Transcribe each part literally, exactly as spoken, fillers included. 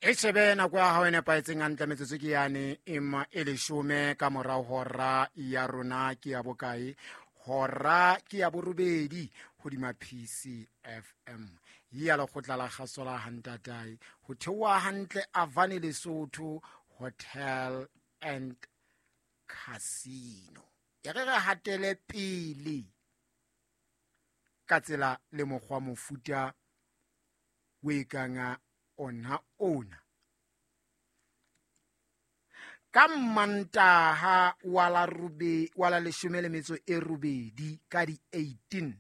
E shebe nako ya hao e nepahetseng hantle metsotso ke yane ema e leshome ka morao hora ya rona ke ya bokae? Hora ke ya borobedi hodima P C F M. Ya lekgotla la kgaso la Hantatae ho theoha hantle Avani Lesotho Hotel and Casino. E re re hatele pele ka tsela le mokgwa mofuta o e kang ona ona. Ka Mantaha wa la robe wa la leshome le metso e robedi ka di eighteen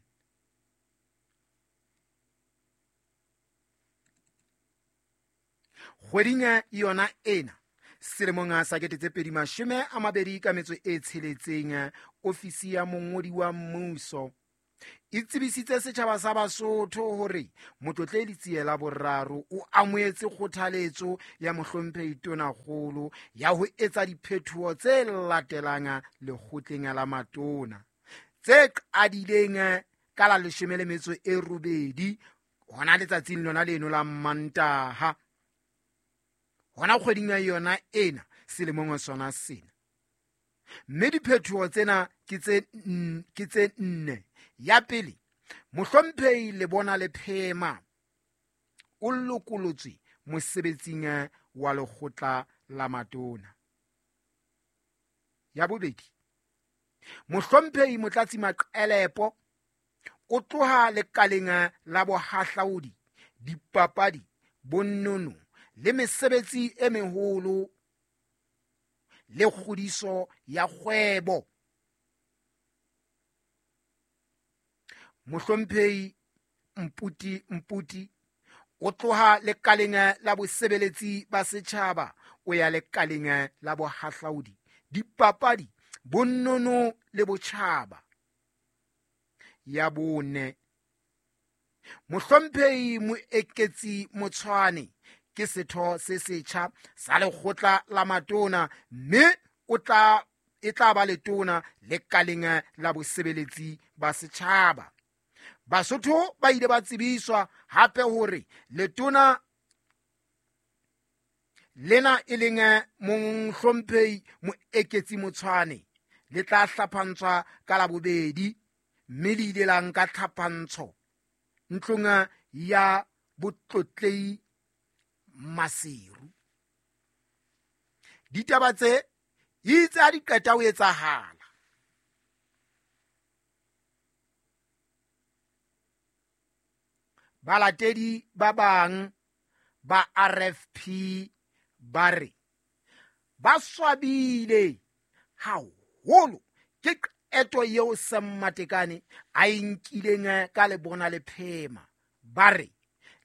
kgweding yona ena selemong sa kete tse pedi mashome a mabedi ka metso e tsheletseng, ofisi ya mongodi wa mmuso e tsebisitse setjhaba sa Basotho hore Motlotledi Letsie Boraro o amohetse kgothaletso ya mohlomphehi Tonakgolo ya ho etsa diphetoho tse latelang lekgotleng la matona tse qadileng ka la leshome le metso e robedi hona letsatsing lona leno la Mantaha hona kgweding ya yona ena selemong sona sena. Mme diphetoho tsena ke tse ke tse nne. Ya pele, mohlomphehi Lebona Lephema o lokolotswe mosebetsing wa lekgotla la matona. Ya bobedi, mohlomphehi Motlatsi Maqelepo o tloha lekaleng la bohahlaudi, dipapadi, bonono le mesebetsi e meholo le kgodiso ya kgwebo. Mohlomphehi Mputi Mputi o tloha lekaleng la bosebeletsi ba setjhaba o ya lekaleng la bohahlaudi, dipapadi, bonono le botjhaba. Ya bone, mohlomphehi Moeketsi Motshwane ke setho se setjha sa lekgotla la matona mme o tla e tla ba letona lekaleng la bosebeletsi ba setjhaba. Basotho ba ile ba tsebiswa hape hore letona lena e leng mohlomphehi Moeketsi Motshwane le tla hlaphantswa ka Labobedi mme le ile la nka tlhapantsho ntlong ya Botlotlei Maseru. Ditaba tse itse ha di qeta ho etsahala, balatedi ba bang ba R F P ba re ba swabile haholo ke qeto eo Sam Matekane a e nkileng ka Lebona Lephema. Ba re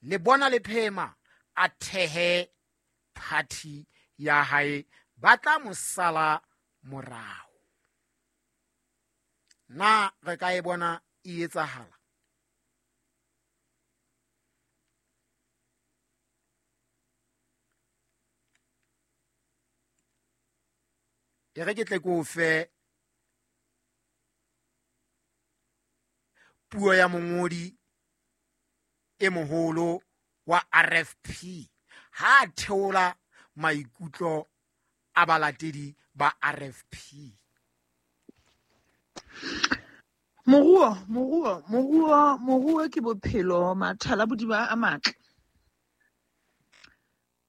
Lebona Lephema a thehe party ya hae, ba tla mo sala morao. Na re ka e bona e etsahala? E re ke tle ke o fe puo ya mongodi e moholo wa R F P ha theola maikutlo a balatedi ba R F P. Moruo, moruo, moruo, moruo ke bophelo, mathala bodiba a matle.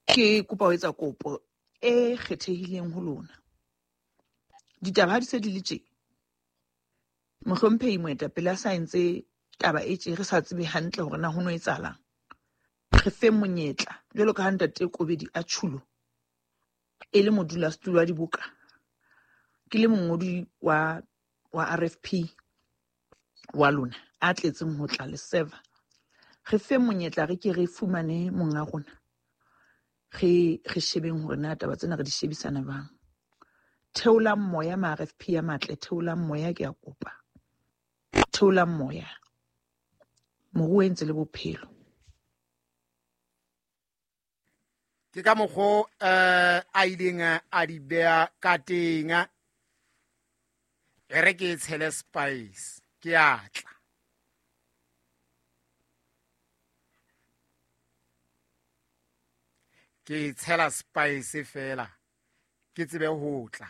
Ke kopa ho etsa kopo e kgethehileng ho lona. Ditaba ha di se di le tje. Mohlomphehi moetapele a sa entse taba e tje re sa tsebe hantle hore na ho no etsahalang. Re fe monyetla jwalo ka ha ntate Kobedi a tjhulo e le modulasetulo wa diboka, ke le mongodi wa wa R F P wa lona a tletseng ho tla le server. Re fe monyetla re ke re fumane monga rona, re re shebeng hore na taba tsena re di shebisana bang. Theolang moya ma R F P ya matle, theolang moya ke a kopa, theolang moya. Moruo e ntse le bophelo. Ke ka mokgo eh a ileng a di beha ka teng. E re ke tshele spice ke atla. Ke tshela spice fela ke tsebe ho tla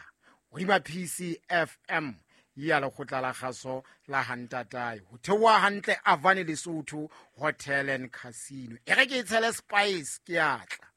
hodima P C F M ya lekgotla la kgaso la hantatae ho theoha hantle Avane Lesotho Hotel and Casino. E re ke e tshele spice, ke atla.